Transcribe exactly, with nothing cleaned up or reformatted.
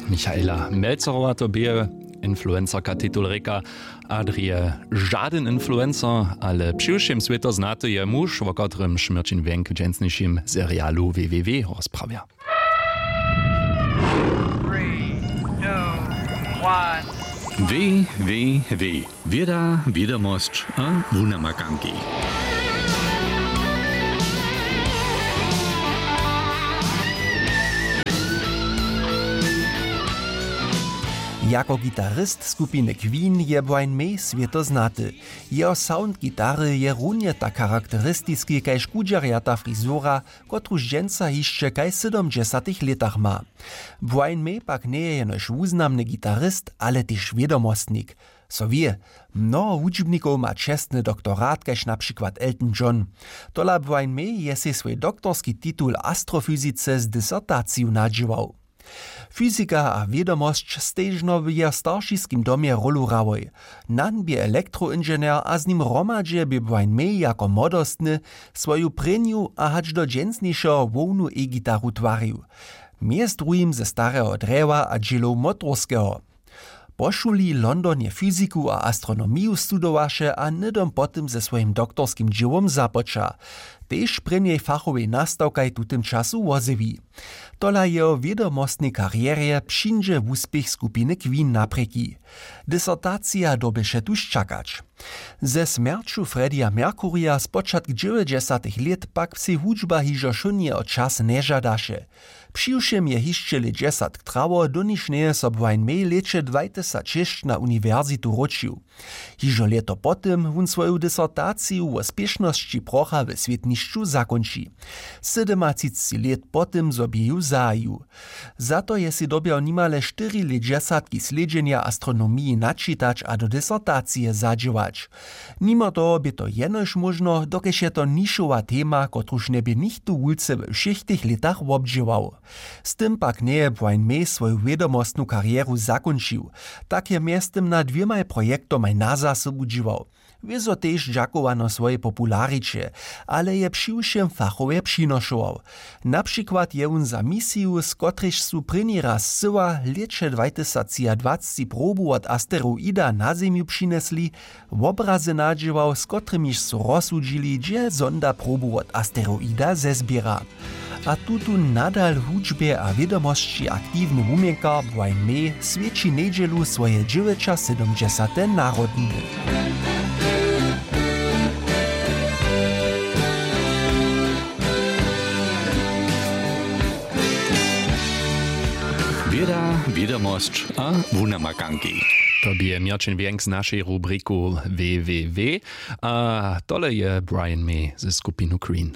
Michaela Melcerowa to bě, influencerka titul rěka. A drje žadyn influencer, ale přiwšěm swěto znaty je muž, wo kotrymž Měrćin Wjenk w dźensnišim serialu www rozprawja. Www. Wěda, wědomosć a wunamakanki. Jako gitarist skupiny Queen je Brian May swěto znaty. Jeho sound gitary je runje tak charakteristiski kaž kudźerjata frizura, kotruž dźensa hišće kaž w sydomdźesatych lětach ma. Brian May pak njeje jenož wuznamny gitarist, ale tež wědomostnik. So wě, mnoho wučbnikow ma čestny doktorat kaž na přikład Elton John. Tola Brian May je sej swój doktorski titul w astrofyzice z disertaciju nadźěłał. Fyzika a wědomosć stežno w jeho staršiskim domje rólu hrałoj. Nan bě elektroinženjer a z nim hromadźe bě Brian May jako młodostny swoju prěnju a hač do dźensnišeho hłownu e-gitaru twarił. Mjez druhim ze stareho drjewa a dźělow motorskeho. Po šuli w Londonje fyziku a astronomiju studowaše a hnydom po tym ze swojim doktorskim dźěłom započa. Tež prěnjej fachowej nastawkaj w tutym času wozjewi. Tola jeho wědomostnej karjerje přińdźe wuspěch skupiny Queen naprěki. Disertacija dyrbješe tuž čakać. Ze smjerću Freddieja Mercurya spočatk dźewjećdźesatych lět pak sej hudźba hižo wšón jeho čas nježadaše. Přiwšěm je hišće lět dźesatk trało, doniž njeje so Brian May w lěće dwajtysacšěsć na uniwersitu wróćił. Hižo lěto po tym wón swoju disertaciju wo spěšnosći procha we swětnišću zakónči. Sydomatřicci lět po tym zo bě ju zahajił. Za to je sej dyrbjał nimale štyri lět dźesatki slědźenja astronomiji načitać a do disertacije zadźěłać. Nimo toho bě to jenož móžno, dokelž je to nišowa tema, kotruž njebě nichtó wulce we wšěch tych lětach wobdźěłał. Z tym pak njeje Brian May swoju wědomostnu karjeru zakónčił. Tak je mjeztym nad dwěmaj projektomaj na zasobu dźěłał. Wězo tež dźakowano swojej populariće, ale je přiwšěm fachowje přinošował. Na přikład je wón za misiju, z kotrejž su prěni raz scyła, w lěće dwajtysacdwacci probu wot asteroida na Zemju přinjesli, wobrazy nadźěłał, z kotrymiž su rozsudźili, hdźe sonda probu wot asteroida zezběra. A tutón nadal w hudźbje a wědomosći aktiwny wuměnkar Brian May swjeći njedźelu swoje dźewjećasydomdźesate narodniny. Wěda, wědomosć a wunamakanki. To bě Měrćin Wjenk z našej rubriku www. A tole je Brian May ze skupinu Queen.